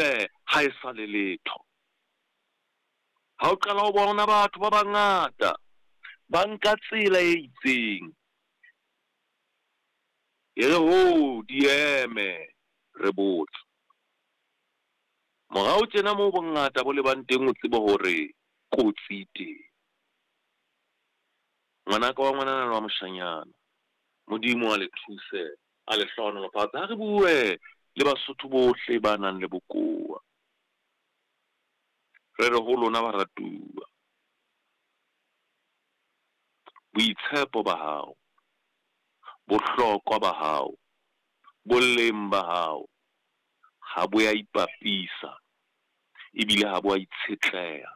motle ha e sa le letho. Ha o qala ho bona batho ba bangata ba nka tsela e itseng, e re ho di eme re botse. Morao tjena moo bongata bo lebang teng o tsebe hore kotsi e teng. Ngwanaka wa ngwanana le wa moshanyana, Modimo a le thuse, a le hlohonolofatse. Ha re bue le Basotho bohle ba nang le bokowa. Re re ho lona baratuwa, boitshepo ba hao, bohlokwa ba hao, boleng ba hao ha bo ya ipapisa ebile ha bo a itshetleha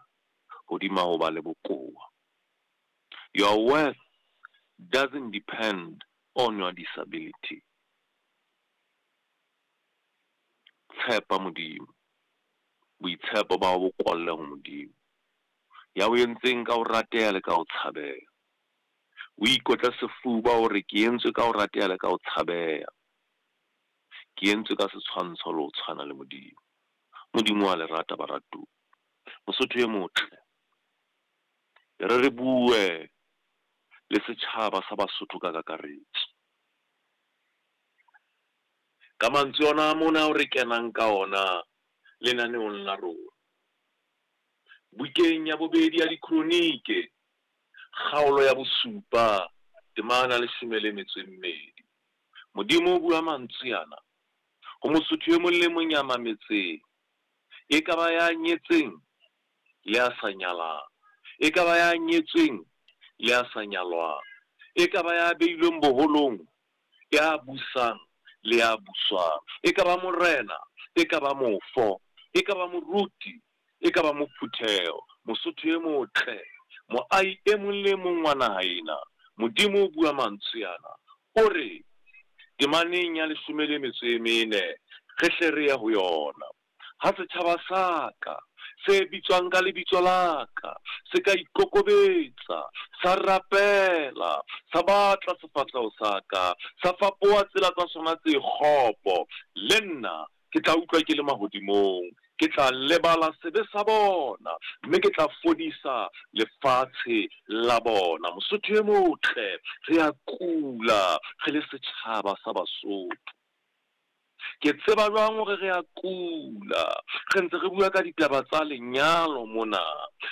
hodima ho ba le bokowa. Your worth doesn't depend on your disability. Tshepa Modimo. Boitshepo ba hao bo kwalle ho Modimo, ya o entseng ka ho rateha le ka ho tshabeha. O ikotle sefuba hore ke entswe ka ho rateha le ka ho tshabeha. Ke entswe ka setshwantsho le ho tshwana le Modimo. Modimo wa le rata baratuwa. Mosotho e motle, e re re bue le setjhaba sa Basotho ka kakaretso. Ka mantswe ona a mona ao re kenang ka ona lenaneong la rona. Bukeng ya bobedi ya Dikronike, kgaolo ya bosupa, temana 12. Modimo o bua mantswe ana ho Mosotho e mong le mong ya mametseng, e ka ba ya nyetseng le ya sa nyalang, e ka ba ya nyetsweng le ya sa nyalwang, e ka ba ya beilweng boholong, ya busang le ya buswang, e ka ba morena, e ka ba mofo, e ka ba moruti, e ka ba mophutheho, Mosotho e motle, moahi e mong le mong wa naha ena. Modimo o bua mantswe ana, o re temaneng ya 14, re hle re ye ho yona. Ha setjhaba sa ka se bitswang ka lebitso la ka se ka ikokobetsa, sa rapela, sa batla sefahleho sa ka, sa fapoha tsela tsa sona tse kgopo, le nna ke tla utlwa ke le mahodimong, ke tla lebala sebe sa bona, mme ke tla fodisa lefatshe la bona. Mosotho e motle, re a kula re le setjhaba sa Basotho. Ke tseba jwang hore re a kula? Re ntse re bua ka ditaba tsa lenyalo mona.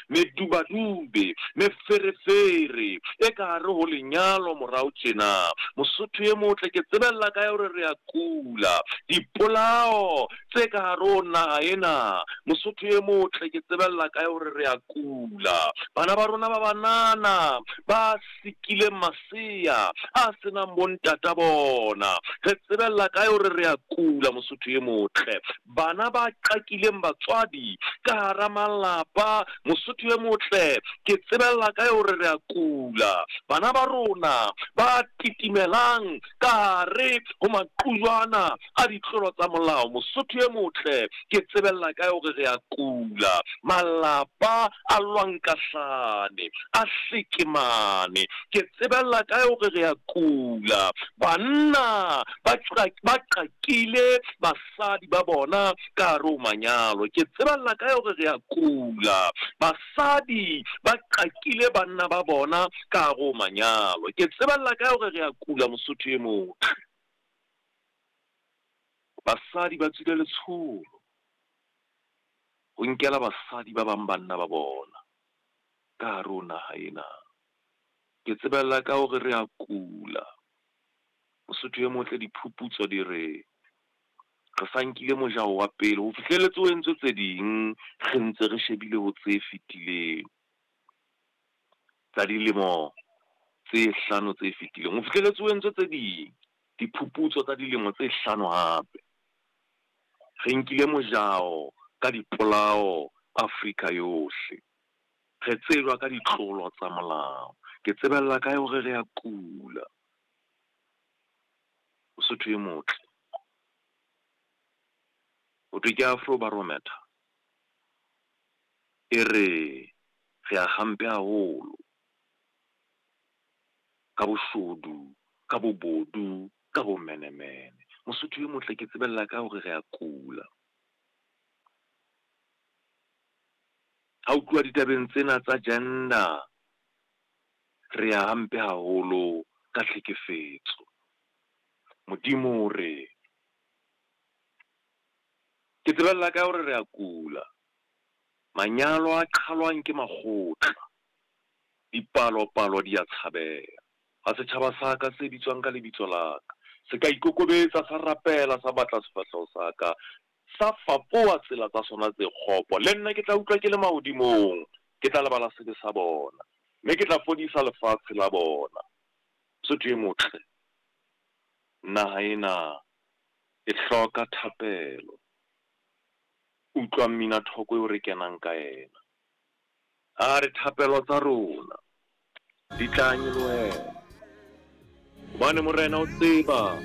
Medubadube, meferefere e ka hare ho lenyalo morao tjena. Mosotho e motle, ke tsebella kae hore re a kula? Dipolao tse ka hare ho naha ena. Mosotho e motle, ke tsebella kae hore re a kula? Bana ba rona ba banana ba sikileng masea a senang bontata bona. Re tsebella kae hore re a kula, Mosotho e motle? Bana ba qakileng batswadi ka hara malapa, Mosotho e motle, ke tsebella kae hore re a kula? Bana ba rona ba titimelang ka hare ho maqujwana a ditlolo tsa molao, Mosotho e motle, ke tsebella kae hore re a kula? Malapa a lwankahlane, a hlekemane, ke tsebella kae hore re a kula? Banna ba qakile basadi ba bona ka hare ho manyalo, ke tsebella kae hore re a kula? Basadi ba qakile banna ba bona ka hare ho manyalo, ke tsebella kae hore re a kula, Mosotho e motle? Basadi ba tswile letsholo ho nkela basadi ba bang banna ba bona ka hare ho naha ena. Ke tsebella ka hore re a kula. Mosotho e motle, diphuputso di re re sa nkile mojao wa pele ho fihlelletse ho entswe tse ding, re ntse re shebile ho tse fetileng tsa dilemo tse 5 tse fetileng. Ho fihlelletse ho entswe tse ding diphuputso tsa dilemo tse 5 hape. Re nkile mojao ka dipolao Afrika yohle. Re tsejwa ka ditlolo tsa molao. Ke tsebella kae hore re a kula? Mosotho e motle, ho thwe ke Afrobarometer e re re a hampe haholo ka boshodu, ka bobodu, ka bomenemene. Mosotho e motle, ke tsebella ka hore re a kula. Ha ho tluwa ditabeng tsena tsa gender, re ya hampe haholo ka tlhekefetso. Modimo o re, Ke tsebella kae hore re a kula? Manyalo a qhalwang ke makgotla, dipalo-palo di a tshabeha. Ha setjhaba sa ka se bitswang ka lebitso la ka se ka ikokobetsa, sa rapela, sa batla sefahleho sa ka, sa fapoha tsela tsa sona tse kgopo, le nna ke tla utlwa ke le mahodimong, ke tla lebala sebe sa bona, mme ke tla fodisa lefatshe la bona. Mosotho e motle, naha ena e hloka thapelo. Utlwa mmina-thoko eo re kenang ka yena. A re thapelo tsa rona di tla nyolohela, hobane Morena o tseba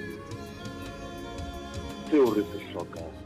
seo re se hlokang.